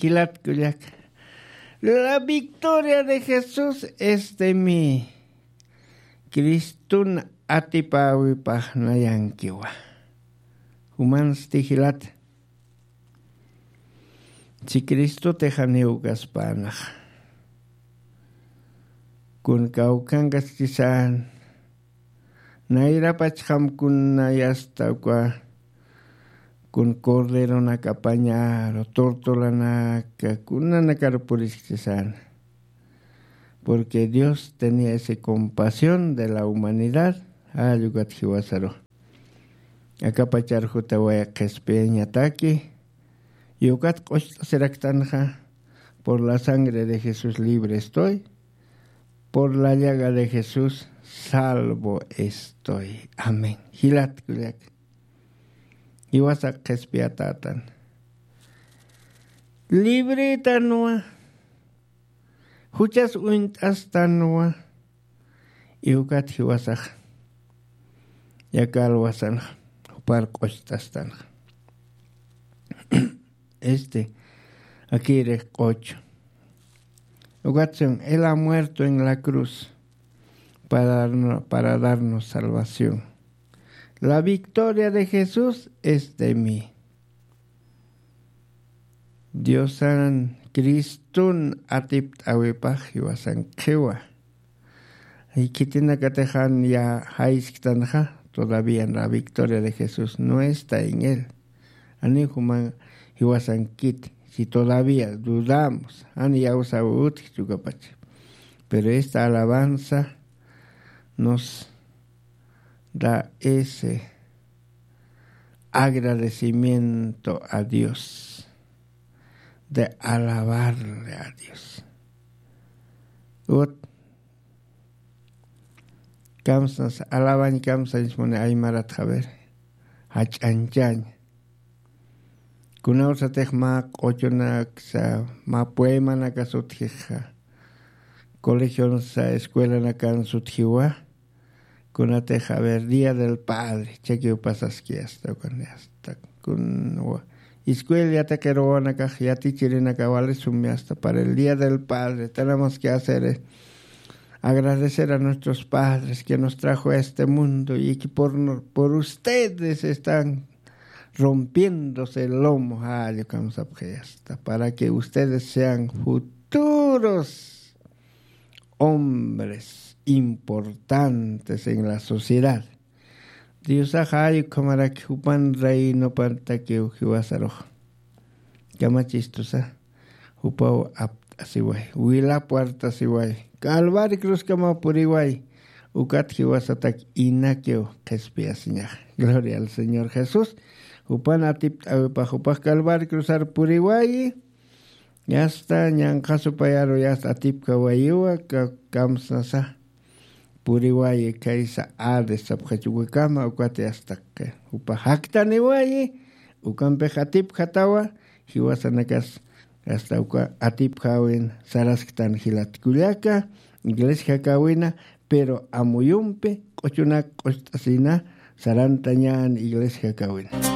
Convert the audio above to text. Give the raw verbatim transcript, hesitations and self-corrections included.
Jilat kullaka. La victoria de Jesús es de mí. Cristun atipäwipax nayankiwa. Jumansti jilat. Si Cristotix janiw kaspänaxa. Kun kawkhankaskisän. Nayrapachxam kuna yasta uka kun corderonakapañaru, tortolanaka, kunanakaru puriskchisana. Porque Dios tenía esa compasión de la humanidad, jall ukat jiwasaru. Akapachar jutaway qhispiyañataki, y ukat q'ucht'asiraktanxa, por la sangre de Jesús libre estoy, por la llaga de Jesús salvo estoy. Amén. Jilat kullaka. Jiwasa qhispiyatätan. Libretanwa. Juchas uñt'astanwa. Y ukat jiwasax. Yaka alwasanxa. Jupar q'ucht'astanxa. Este, aquí rejq'ocho. Ukat son, Él ha muerto en la cruz para darnos, para darnos salvación. La victoria de Jesús es de mí. Diosan Cristun atipt'awipax jiwasan qhiwa. Y khitinakatix jan ya jaysktanxa, todavía la victoria de Jesús no está en él. Ani juman jiwasankit, si todavía dudamos, ani yawsaw utji chukapacha. Pero esta alabanza nos da ese agradecimiento a Dios, de alabarle a Dios. Ut, kamsas, alabañ kamsañ, muni aymarat, a ver, jach'añchañ. Kunawsatix mä q'uchunaksa, mä poemanakas utjixa, colegionsa, escuelanakan sutjiwa, kunatix, a ver, Día del Padre, chakiw pasaski hasta, hasta, kun, wa, escuela yatiqir wawanakax, yatichirinaka wali sumi hasta para el Día del Padre, tenemos que hacer, eh, agradecer a nuestros padres que nos trajo a este mundo y que por, no, por ustedes están rompiéndose el lomo, jall ukham sapxi hasta, para que ustedes sean futuros hombres importantes en la sociedad. Diosax jall ukhamaraki jupan reinopantakiw jiwasarux. Kamachistusa, jupaw apt'asiway, wilap wartasiway, Calvari cruzkamaw puriway, ukat jiwasatak inakiw qhispiyasiñaxa. Gloria al Señor Jesús. Jupan atipt'awipax, jupax Calvari cruzar puriwayi, yasta ñanqha supayaru yasta atipkawayiwa, ka-, kamsnasa puriwayi, khaysa Hades sapxachukwikama, ukat yasta jupa jaktaniwayi, ukampix atipjatawa, jiwasanakas hasta uka atipjawin sarasktan jilat kullaka, iglesia jakawina, pero amuyumpi q'uchunak q'ucht'asina sarantañan iglesia jakawina.